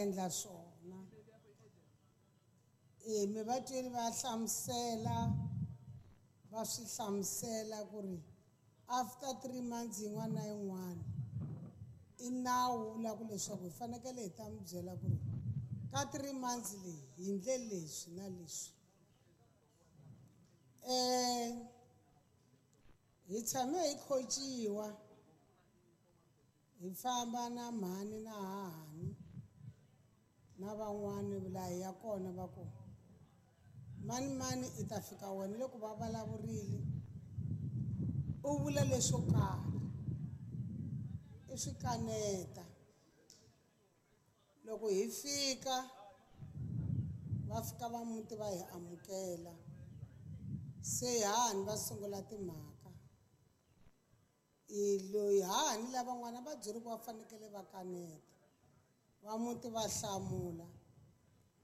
Endla swona e mi va tweli va hlamusela va swi hlamusela ku ri after 3 months yin'wana na yin'wana i nawu wu ku leswaku hi fanekele hi ta mi byela ku ri ka 3 months leyi hi ndle leswi na leswi. Hi tshame hi khotsiwa, hi famba na mhani na hahani na van'wani laha hi ya kona, va ku mani mani i ta fika wena loko va vulavurile u vula leswo karhi i swi kaneta. Loko hi fika, va fika va muti va hi amukela, se hahani va sungula timhaka i loyi hahani lavan'wana va byeri ku va fanekele va kaneta. Va muti va hlamula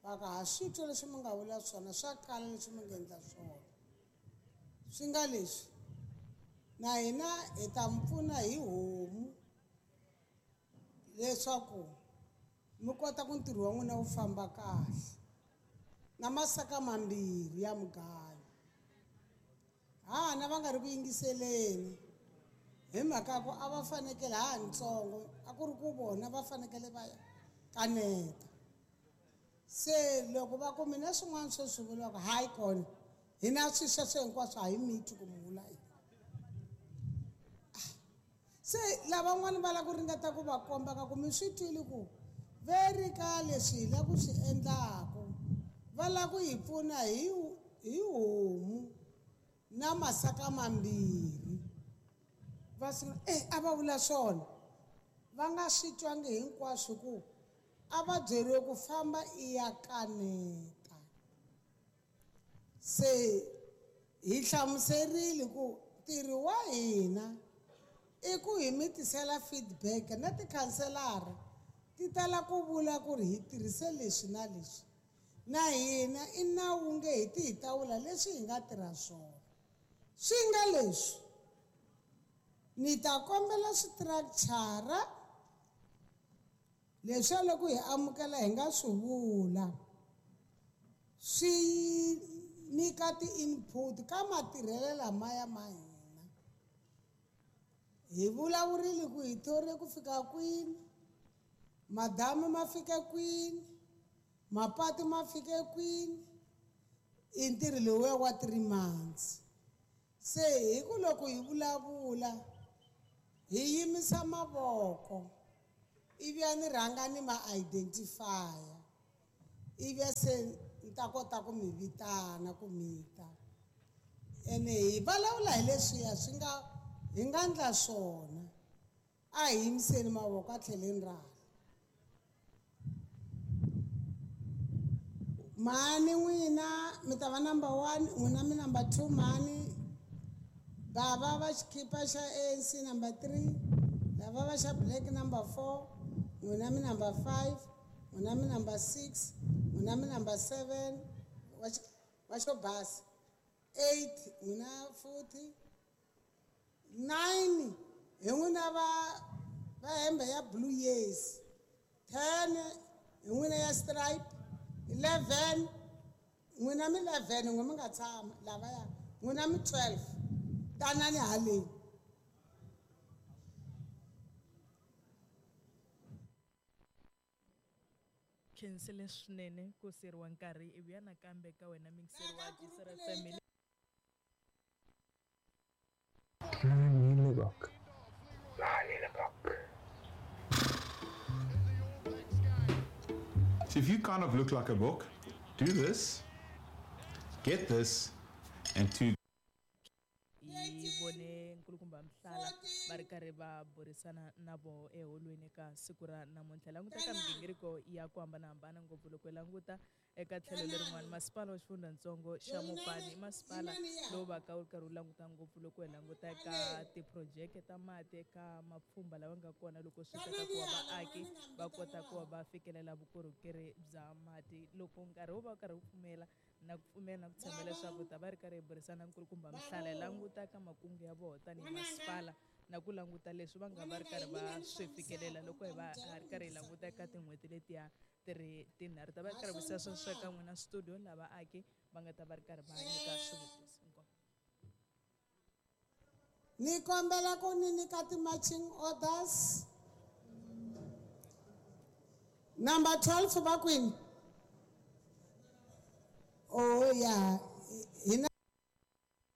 va ku ha swi twa leswi mi nga vula swona, swa kala leswi mi nga endla swona, swi nga leswi na hina hi ta mi pfuna hi homu leswaku mi kota ku ntirho wa n'wina wu famba kahle, na masaka mambirhi ya mugayo. Hahana va nga ri ku yingiseleni hi mhaka ku a va fanekele ha ntsongo a ku ri ku vona va fanekele va kaneta. Se loko va ku mina swin'wana swo swi vuriwaka hayi kona hina swi sweswo hinkwaswo a hi miti ku mi vula yini. Se lavan'wana va lava ku ringeta ku va komba ka ku mi swi twile ku ve ri ka leswi hi lava ku swi endlaku, va lava ku hi pfuna hi homu na masaka mambirhi. Va sungula e a va vula swona va nga swi twangi hinkwaswo ku a va byeriwe ku famba i ya kaneta. Se hi hlamuserile ku ntirho wa hina i ku hi mi tisela feedback na tikhanselara ti tala ku vula ku ri hi tirhise leswi na leswi, na hina i nawu nge hi ti hi ta vula leswi hi nga tirha swona. Swi nga leswi ni ta kombela swi-structure leswiya loko hi amukela hi nga swi vula swi nyika ti-input ka matirhelo lamaya ma hina. Hi vulavurile ku hi thorile ku fika kwini, madamu ma fike kwini, mapatu ma fike kwini, i ntirho lowuya wa 3 months. Se hi ku loko hi vulavula hi yimisa mavoko ivi ya ni rhanga ni ma identify-a, ivi se ni ta kota ku mi vitana ku mi ta ene hi vulavula hi leswiya swi nga hi nga ndla swona. A hi yimiseni mavoko a tlheleni ra hala. Mhani n'wina mi ta va number one, n'wina mi number two, mhani bava va xikhipa xa ANC number three, lava va xa black number four, n'wina mi number five, n'wina mi number six, n'wina mi number seven, wa xo basa eight, n'wina futhi nine, hi n'wina va va hembe ya blue, yes, 10 hi n'wina ya stripe, 11 n'wina mi 11, n'we mi nga tshama lavaya, n'wina mi 12, tanani haleni. Khensile swinene ku siyeriwa nkarhi i vuya nakambe ka wena mingiseri wa Tisera FM. Mani Lebak. Mani Lebak. So if you kind of look like a book, do this, get this, and two. Hi vone nkulukumba Mhlala va ri karhi va burisana na voho eholweni ka siku ra namuntlha. Languta ka migingiriko ya ku hambanahambana ngopfu loko hi languta eka tlhelo lerin'wani, masipala wa xifundzatsongo xa Mopani i masipala lowu va ka wu ri karhi wu languta ngopfu loko hi languta eka tiphurojeke ta mati eka mapfhumba lawa nga kona loko swi ta ka ku va vaaki va kota ku va va fikelela vukorhokeri bya mati. Loko nkarhi wu va wu karhi wu pfumela na ku pfumela na ku tshemba leswaku ta va ri karhi hi burisana nkulukumba Mhlala hi languta ka makungu ya vona tanihi masipala. na ku languta leswi va nga va ri karhi va swi fikelela loko hi va ha ri karhi hi languta eka tin'hweti letiya ti ri tinharhu ta va ri karhi vutisa sweswo eka n'wina studio lava aki va nga ta va ri karhi va nyika swivutiso inkomu. Ni kombela ku ni nyika ti-marching orders. Number 12 va kwini? Oh ya, hina.